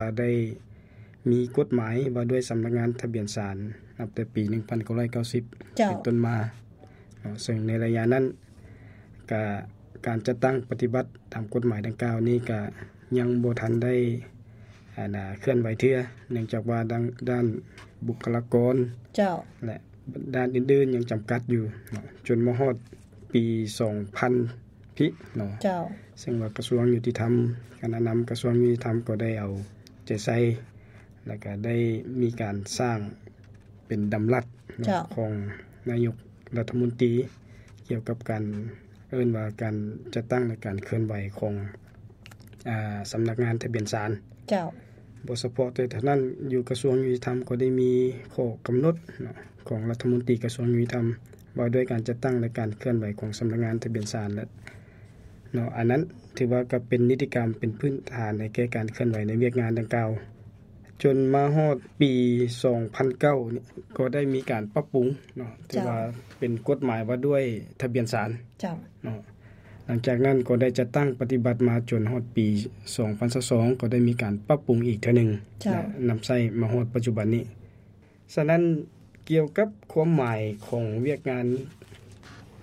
ໄດ້ມີກົດໝາຍວ່າດ້ວຍສຳນັກງານທະບຽນສານ ນັບແຕ່ປີໜຶ່ງພັນເກົ້າຮ້ອຍເກົ້າສິບ ເຈົ້າ ເປັນຕົ້ນມາເນາະ, ເຊິ່ງໃນໄລຍະນັ້ນກະ ການຈັດຕັ້ງປະຕິບັດຕາມກົດໝາຍດັ່ງກ່າວນີ້ກະຍັງບໍ່ທັນໄດ້ ອັນນາ ເຄື່ອນໄຫວເທື່ອ, ເນື່ອງຈາກວ່າດ້ານ ດ້ານບຸກຄະລາກອນ ເຈົ້າ ແລະ ດ້ານອື່ນໆຍັງຈຳກັດຢູ່ເນາະ, ຈົນມາຮອດປີສອງພັນພີ້ເນາະ, ເຈົ້າ ເຊິ່ງວ່າກະຊວງຍຸຕິທຳ, ຄະນະນຳກະຊວງຍຸຕິທຳກໍໄດ້ເອົາໃຈໃສ່ ແລະກະໄດ້ມີການສ້າງເປັນດຳລັດເນາະ ເຈົ້າ ຂອງນາຍົກລັດຖະມົນຕີ ກ່ຽວກັບການ ເອີ້ນວ່າການຈັດຕັ້ງ ແລະ ການເຄື່ອນໄຫວຂອງ ອາ ສຳນັກງານທະບຽນສານ. ເຈົ້າ. ບໍ່ສະເພາະແຕ່ເທົ່ານັ້ນ, ຢູ່ກະຊວງຍຸຕິທຳກໍໄດ້ມີຂໍ້ກຳນົດເນາະ ຂອງລັດຖະມົນຕີກະຊວງຍຸຕິທຳ ວ່າດ້ວຍການຈັດຕັ້ງ ແລະ ການເຄື່ອນໄຫວຂອງສຳນັກງານທະບຽນສານ ແລະ ເນາະ, ອັນນັ້ນຖືວ່າກໍເປັນນິຕິກຳ ເປັນພື້ນຖານໃຫ້ແກ່ການເຄື່ອນໄຫວໃນວຽກງານດັ່ງກ່າວ. ຈົນມາຮອດປີສອງພັນເກົ້ານີ້ ກໍໄດ້ມີການປັບປຸງເນາະ, ຖືວ່າເປັນກົດໝາຍວ່າດ້ວຍທະບຽນສານ ເຈົ້າ ເນາະ. ຫຼັງຈາກນັ້ນກໍໄດ້ຈັດຕັ້ງປະຕິບັດມາຈົນຮອດປີສອງພັນຊາວສອງ ກໍໄດ້ມີການປັບປຸງອີກເທື່ອໜຶ່ງ ເຈົ້າ ແລະ ນຳໃຊ້ມາຮອດປັດຈຸບັນນີ້. ສະນັ້ນ ກ່ຽວກັບຄວາມໝາຍຂອງວຽກງານ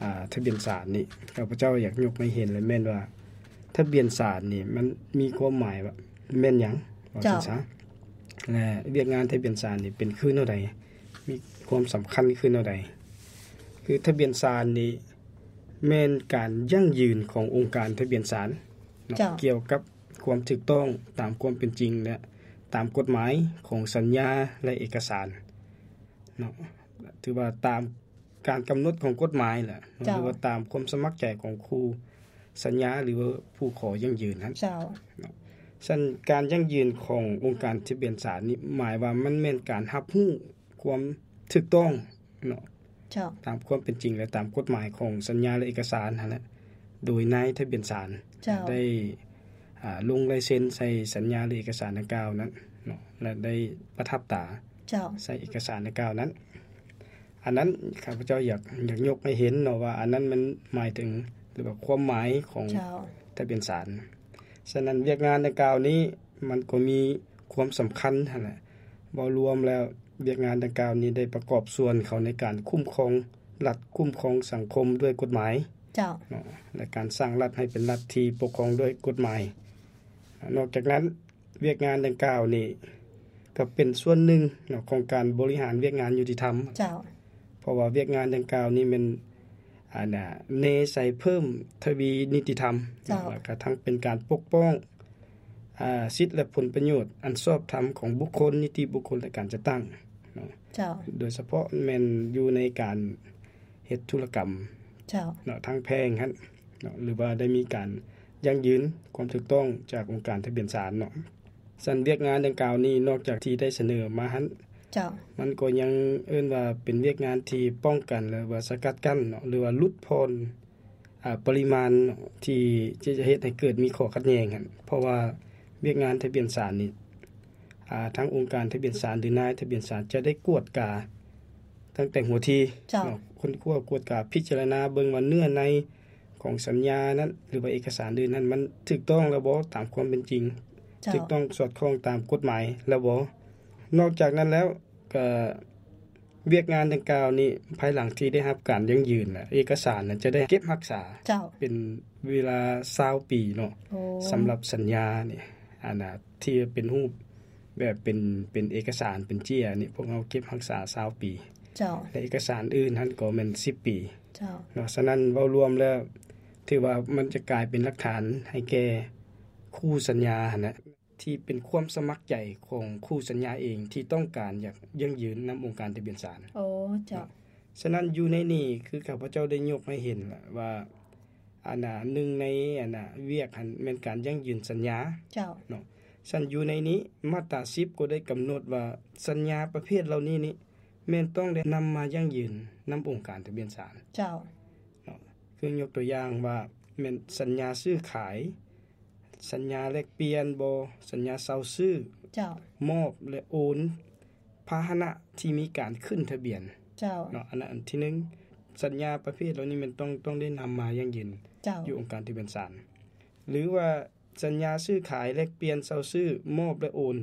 ອາ ທະບຽນສານນີ້ ຂ້າພະເຈົ້າຢາກຍົກໃຫ້ເຫັນເລີຍແມ່ນວ່າ ທະບຽນສານນີ້ມັນມີຄວາມໝາຍວ່າແມ່ນຫຍັງ ວ່າຊັ້ນຊະ ແລະ ວຽກງານທະບຽນສານນີ້ເປັນຄືແນວໃດ ມີຄວາມສຳຄັນຄືແນວໃດ. ຄືທະບຽນສານນີ້ແມ່ນການຢັ້ງຢືນຂອງອົງການທະບຽນສານເນາະ ເຈົ້າ ກ່ຽວກັບຄວາມຖືກຕ້ອງຕາມຄວາມເປັນຈິງ ແລະ ຕາມກົດໝາຍຂອງສັນຍາ ແລະ ເອກະສານເນາະ, ຖືວ່າຕາມ ການກຳນົດຂອງກົດໝາຍແຫຼະ ເຈົ້າ ຫຼືວ່າຕາມຄວາມສະໝັກໃຈຂອງຄູ່ສັນຍາ ຫຼືວ່າຜູ້ຂໍຢັ້ງຢືນຫັ້ນ ເຈົ້າ ເນາະ. ສະນັ້ນ ການຢັ້ງຢືນຂອງອົງການທະບຽນສານນີ້ ໝາຍວ່າມັນແມ່ນການຮັບຮູ້ຄວາມຖືກຕ້ອງເນາະ ເຈົ້າ ຕາມຄວາມເປັນຈິງ ແລະ ຕາມກົດໝາຍຂອງສັນຍາ ແລະ ເອກະສານຫັ້ນແຫຼະ ໂດຍນາຍທະບຽນສານ ເຈົ້າ ໄດ້ ອາ ລົງລາຍເຊັນໃສ່ສັນຍາ ຫຼື ເອກະສານດັ່ງກ່າວນັ້ນເນາະ ແລະ ໄດ້ປະທັບຕາ ເຈົ້າ ໃສ່ເອກະສານດັ່ງກ່າວນັ້ນ. ອັນນັ້ນຂ້າພະເຈົ້າຢາກ ຢາກຍົກໃຫ້ເຫັນເນາະວ່າ ອັນນັ້ນມັນໝາຍເຖິງ ຫຼືວ່າຄວາມໝາຍຂອງ ເຈົ້າ ທະບຽນສານ. ສະນັ້ນ ວຽກງານດັ່ງກ່າວນີ້ ມັນກໍມີຄວາມສຳຄັນຫັ້ນແຫຼະ. ເວົ້າລວມແລ້ວ ວຽກງານດັ່ງກ່າວນີ້ໄດ້ປະກອບສ່ວນເຂົ້າໃນການຄຸ້ມຄອງລັດ, ຄຸ້ມຄອງສັງຄົມດ້ວຍກົດໝາຍ ເຈົ້າ ເນາະ ແລະ ການສ້າງລັດໃຫ້ເປັນລັດທີ່ປົກຄອງດ້ວຍກົດໝາຍ. ນອກຈາກນັ້ນ ວຽກງານດັ່ງກ່າວນີ້ກໍເປັນສ່ວນໜຶ່ງເນາະ ຂອງການບໍລິຫານວຽກງານຍຸຕິທຳ ເຈົ້າ ເພາະວ່າວຽກງານດັ່ງກ່າວນີ້ແມ່ນ ອັນນາ ເນໃສ່ເພີ່ມທະວີນິຕິທຳ ເຈົ້າ ເນາະ ແລະ ກະທັງເປັນການປົກປ້ອງ ອາ ສິດ ແລະ ຜົນປະໂຫຍດອັນຊອບທຳຂອງບຸກຄົນ, ນິຕິບຸກຄົນ ແລະ ການຈັດຕັ້ງເນາະ ເຈົ້າ ໂດຍສະເພາະແມ່ນຢູ່ໃນການເຮັດທຸລະກຳ ເຈົ້າ ເນາະ ທາງແພ່ງຫັ້ນເນາະ ຫຼືວ່າໄດ້ມີການຢັ້ງຢືນຄວາມຖືກຕ້ອງຈາກອົງການທະບຽນສານເນາະ. ຊັ້ນວຽກງານດັ່ງກ່າວນີ້ ນອກຈາກທີ່ໄດ້ສະເໜີມາຫັ້ນ ເຈົ້າ ມັນກໍຍັງເອີ້ນວ່າເປັນວຽກງານທີ່ປ້ອງກັນ ຫຼືວ່າສະກັດກັ້ນເນາະ ຫຼືວ່າຫຼຸດຜ່ອນ ອາ ປະລິມານເນາະ ທີ່ຈະເຮັດໃຫ້ເກີດມີຂໍ້ຂັດແຍ່ງຫັ້ນ ເພາະວ່າວຽກງານທະບຽນສານນີ້ ອາ ທາງອົງການທະບຽນສານ ຫຼື ນາຍທະບຽນສານ ຈະໄດ້ກວດກາຕັ້ງແຕ່ຫົວທີ ເຈົ້າ ເນາະ ຄົ້ນຄວ້າກວດກາພິຈາລະນາເບິ່ງວ່າເນື້ອໃນຂອງສັນຍານັ້ນ ຫຼືວ່າເອກະສານອື່ນນັ້ນ ມັນຖືກຕ້ອງແລ້ວບໍ່ ຕາມຄວາມເປັນຈິງ ເຈົ້າ ຖືກຕ້ອງສອດຄ່ອງຕາມກົດໝາຍແລ້ວບໍ່. ນອກຈາກນັ້ນແລ້ວ ກະ ວຽກງານດັ່ງກ່າວນີ້ ພາຍຫຼັງທີ່ໄດ້ຮັບການຢັ້ງຢືນລະ ເອກະສານນະຈະໄດ້ເກັບຮັກສາ ເຈົ້າ ເປັນເວລາຊາວປີເນາະ ໂອ້ ສຳລັບສັນຍານີ້ ອັນນະ ທີ່ເປັນຮູບແບບເປັນ ເປັນເອກະສານ ເປັນເຈ້ຍນີ້ ພວກເຮົາເກັບຮັກສາຊາວປີ ເຈົ້າ ແລະ ເອກະສານອື່ນຫັ້ນກໍແມ່ນສິບປີ ເຈົ້າ ເນາະ. ສະນັ້ນ ເວົ້າລວມແລ້ວ ຖືວ່າມັນຈະກາຍເປັນຫຼັກຖານໃຫ້ແກ່ຄູ່ສັນຍາຫັ້ນແຫຼະ ທີ່ເປັນຄວາມສະໝັກໃຈຂອງຄູ່ສັນຍາເອງ ທີ່ຕ້ອງການຢາກຢັ້ງຢືນນຳອົງການທະບຽນສານ. ໂອ້ ເຈົ້າ. ເນາະ ສະນັ້ນ ຢູ່ໃນນີ້ ຄືຂ້າພະເຈົ້າໄດ້ຍົກໃຫ້ເຫັນລະວ່າ ອັນນາ ໜຶ່ງໃນ ອັນນາ ວຽກຫັ້ນແມ່ນການຢັ້ງຢືນສັນຍາ ເຈົ້າ ເນາະ. ສະນັ້ນ ຢູ່ໃນນີ້ ມາດຕາສິບ ກໍໄດ້ກຳນົດວ່າ ສັນຍາປະເພດເຫຼົ່ານີ້ນີ້ ແມ່ນຕ້ອງໄດ້ນຳມາຢັ້ງຢືນນຳອົງການທະບຽນສານ ເຈົ້າ ເນາະ. ຄືຍົກຕົວຢ່າງວ່າ ແມ່ນສັນຍາຊື້ຂາຍ, ສັນຍາແລກປ່ຽນບໍ່, ສັນຍາເຊົ່າຊື້, ເຈົ້າ ມອບ ແລະ ໂອນພາຫະນະທີ່ມີການຂຶ້ນທະບຽນ ເຈົ້າ ເນາະ. ອັນນັ້ນອັນທີໜຶ່ງ ສັນຍາປະເພດເຫຼົ່ານີ້ແມ່ນຕ້ອງ ຕ້ອງໄດ້ນຳມາຢັ້ງຢືນ ເຈົ້າ ຢູ່ອົງການທະບຽນສານ ຫຼືວ່າ ສັນຍາຊື້ຂາຍ, ແລກປ່ຽນ, ເຊົ່າຊື້, ມອບ ແລະ ໂອນ.